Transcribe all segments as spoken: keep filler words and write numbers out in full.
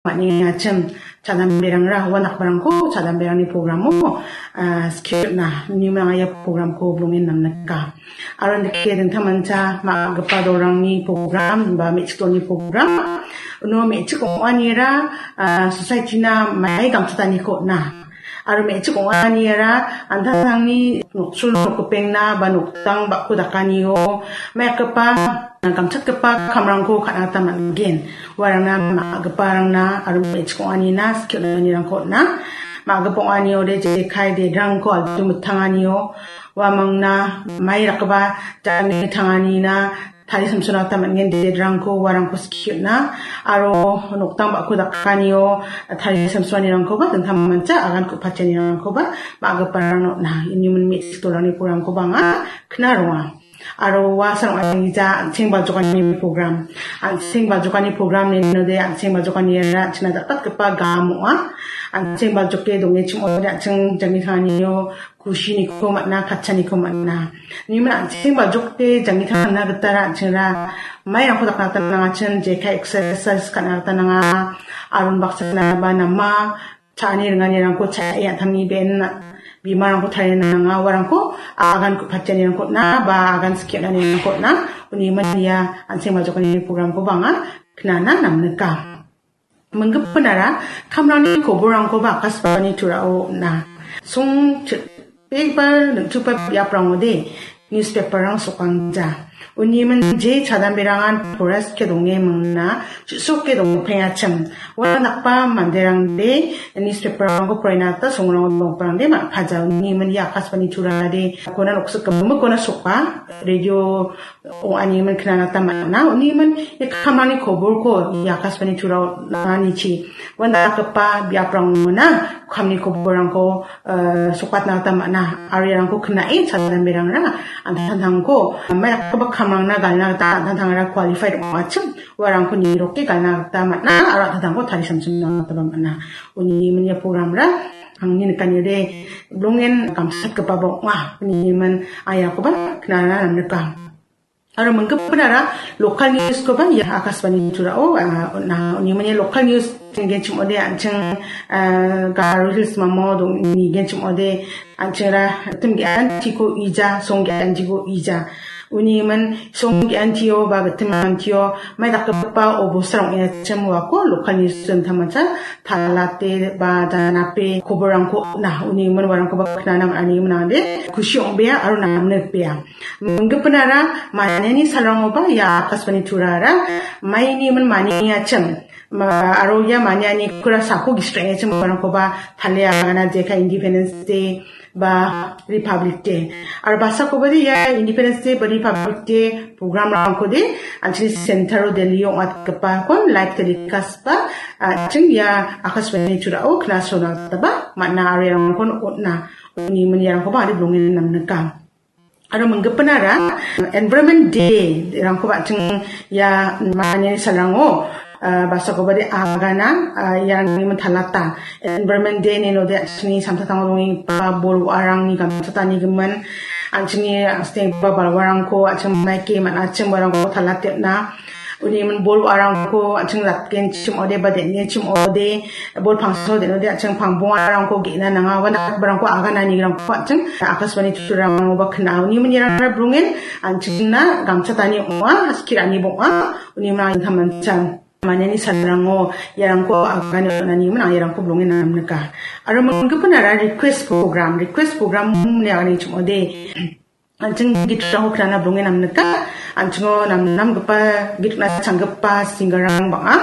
man·engachim, chadamberangra ua dakbarangko chadamberangni programo, ah, skip na, nimrang ia programko blongen namnika. Aro nike dingtangmancha ma·gipa dolrangni program ba me·chik dolni program. Uno me·chik ong·anira, ah, society-na mai gamchataniko on·a. Aro me·chik ong·anira an·tangtangni nokchul nokgipengna ba noktang ba·ko dakanio maikgipa, gamchatgipa kamrangko ka·na gita man·gen. Uarangna ma·giparangna aro me·chik ong·anina skie on·anirangko on·a. Ma·gipa ong·aniode jekai dedrangko altu mitanganio uamangna mai rakgipa jangni tanganina tari samsona gita man·gen, dedrangko uarangko skie on·a aro noktang ba·ko dakanio tari samsoanirangkoba dingtangmancha agan ku·patianirangkoba ma·giparangna on·a. Ini min me·chik dolrangni programkoba anga kna ronga. Aro uasang ong·a, an·cheng baljokani program. An·cheng baljokani program inode an·cheng baljokaniara an·chingna jakatgipa gam ong·a. An·cheng baljoke dongechim ong·ode an·cheng jangni tanganio kusiniko man·a, katchaniko man·a. Nimin an·cheng baljokde jangni tangna gitara an·chengra mairangko dakna gita nangachin, jekai exercise ka·na gita nanga, aron baksana ba nama, cha·ani ringanirangko cha·e an·tangni be·en bimarangko tarie nanga, uarangko agan ku·patianirangko on·a, ba agan skie on·anirangko on·a, uni iman ia an·cheng baljokani programkoba anga knana namnika. Minggipanara kamrangni koborrangkoba Akashvani Turao on·a. Song chipbegipa neng·chukgipa biaprangode newspaperrang sokangja. Uni iman je chadamberangan forest-ke donge mingna, chu·soke dongpengachim. Uandakba manderangde newspaperrangko poraina gita songrango dongparangde man·paja. Uni iman ia Akashvani Turade kona noksik gimikkona soka, radio ong·a ine iman knana gita man·a. Uni iman ia kamrangni koborko ia Akashvani Turao nanganichi uandakgipa biaprangona kamni koborrangko, eh, sokatna gita man·a. Aro iarangko knae chadamberangra an·tangtangko mai dakgipa kamrangna galna gita an·tangtangra qualified ong·achim uarangko niroke galna gita man·a aro an·tangtangko tari samsimna gitaba man·a. Uni iman ia programra angni nikanide blongen gamsatgipaba ong·a. Uni iman aiakoba knana namnika. Aro minggipanara local newskoba ia Akashvani Turao, ah, on·a. Uni iman ia local news nigenchim ong·ode an·ching, ah, Garo Hills mamo dong-, nigenchim ong·ode an·chingra tim ge·antiko ija, song ge·antiko ija. Uni iman song ge·antio ba gitim antio mai dakgipa obostarang ong·achim uako local news dingtangmancha talate ba danape koborrangko on·a. Uni iman uarangkoba knana man·ani iman ong·ode kusi ong·bea aro namnikbea. Minggipanara maniani salrangoba ia Akashvani Turara maini iman maniachim. Ma-, aro ia maniani kura sako gisik ra·engachim uarangkoba tale agana jekai Independence Day ba Republic Day. Aro basakobade ia Independence Day ba Republic Day programrangkode an·chingni centero Delhi ong·atgipakon live telecast ba an·ching ia Akashvani Turao knasona gitaba man·a aro iarangkon on·a. Uni iman iarangkoba ari blongen namnika. Aro minggipanara Environment Day-rangkoba an·ching ia maniani salrango, ah, basakobade agana, ah, iarangni iman talata. Environment Day inode an·chingni samtangtango dongenggipa bol wa·arangni gamchatanigimin, an·chingni angstenggipa balwarangko an·ching maike man·achim uarangko talatena. Uni iman bol wa·arangko an·ching ratgenchim ong·ode ba den·genchim ong·ode, bol pangsao den·ode an·ching pangbongarangko ge·na nanga, uandakgiparangko agananirangko an·ching Akashvani Turarangba kna·a. Uni iman iarangara blongen an·chingna gamchatani ong·a, skie ra·ani bong·a, uni iman dingtangmancha maniani salrango iarangko agane on·ani iman iarangko blongen namnika. Aro minggipanara request program, request program ine aganechim ong·ode. An·ching gitrangko knana blongen namnika. An·chingo namnamgipa, git rikna changgipa singerrang bang·a.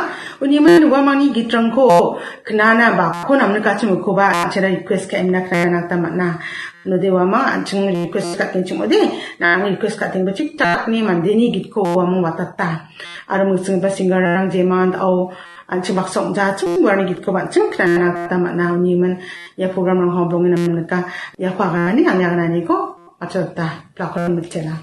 Uni iman uamangni gitrangko knana bako namnikachim ukoba an·chingna request ka·emna knana gita man·a. Inode uamang an·ching request ka·genchim ong·ode, nang request ka·tengba chikchakni mandeni gitko uamang watata. Aro mingsinggipa singerrang jeman da·o an·ching baksa ong·jachim uarangni gitkoba an·ching knana gita man·a. Uni iman ia programrangko blongen namnika. Iako aganani, angni agananiko achota. Plakon mitela.